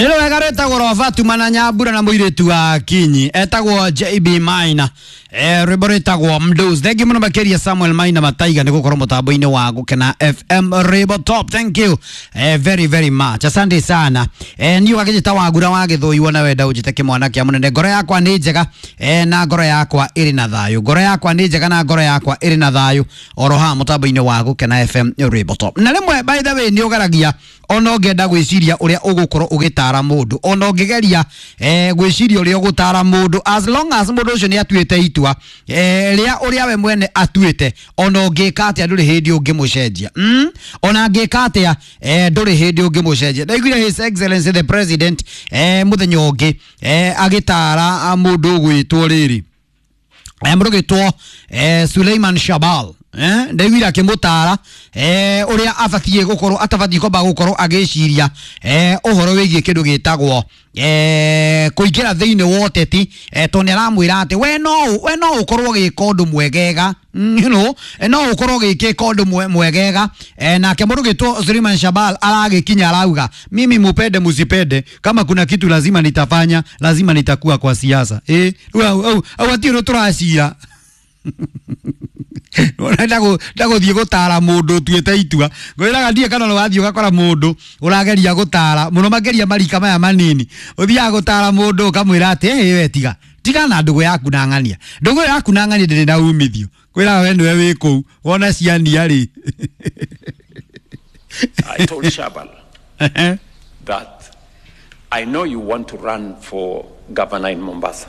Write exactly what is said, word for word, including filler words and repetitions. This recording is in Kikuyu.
Nĩ wega rwĩtagwo Roba na Nyambura na mũirĩtu wa Kinyi etagwo J B Maina, eh, rwĩmbo rwĩtagwo Mdos. Thank you mũno makĩria Samuel Maina Mataiga nĩ gũkorwo mũtambo-inĩ wa Gũkena F M Rwĩmbo Top. Thank you eh, very very much, asante sana. eh, niĩ ũgakĩnjĩta Wagura wa Gĩthũi, wona wenda ũnjĩte kĩmwana kĩa mũnene. Ngoro yakwa nĩ njega eh, na ngoro yakwa ĩrĩ na thayũ. Ngoro yakwa nĩ njega na ngoro yakwa ĩrĩ na thayũ oro haha mũtambo-inĩ wa Gũkena F M Rwĩmbo Top. Na rĩmwe, by the way, nĩ ũgeragia, ona ũngĩenda gwĩciria ũrĩa ũgũkorwo ũgĩtara mũndũ, ona ũngĩgeria eh, gwĩciria ũrĩa ũgũtara mũndũ, as long as mũndũ ũcio nĩ atuĩte itua eh, rĩa ũrĩa we mwene atuĩte, ona ũngĩka atĩa ndũrĩ hĩndĩ ũngĩmũcenjia. mm? Ona angĩka atĩa eh, ndũrĩ hĩndĩ ũngĩmũcenjia. Ndaiguire His Excellency the President eh, mũthenya ũngĩ eh, agĩtara mũndũ ũgwĩtwo rĩrĩ, eh, mũndũ ũgwĩtwo eh, Suleiman Shabal. eh, ndaiguire akĩmũtara eh, ũrĩa abatiĩ gũkorwo atabatiĩ kwamba gũkorwo agĩciria eh, ũhoro wĩgiĩ kĩndũ gĩtagwo eh, kũingĩra thĩinĩ wa ũteti, eh, tondũ nĩ aramwĩra atĩ we no we no ũkorwo ũgĩka ũndũ mwegega, mm, you know, eh, no ũkorwo ũgĩka ũndũ mwe- mwegega. eh, nake mũndũ ũgĩtwo Suleiman Shabal aragĩkinya arauga, "Mimi mupende musipende, kama kuna kitu lazima nitafanya, lazima nitakuwa kwa siasa." Eh, rĩu au au au hatirĩ ũndũ tũracira. Ndagũthiĩ gũtara mũndũ ũtuĩte itua. Ngwĩraga ndiĩ kana nĩ wathiĩ ũgakora mũndũ ũrageria gũtara mũno makĩria marika maya manini, ũthiaga gũtara mũndũ ũkamwĩra atĩ ĩ we tiga tiga na ndũgũ yaku na ng'ania, ndũgũ ĩyo yaku na ng'ania ndĩrĩ na umithio. Kwĩraga we nĩwe wĩ kũu wona ciania rĩ. I told Shabal that I know you want to run for governor in Mombasa.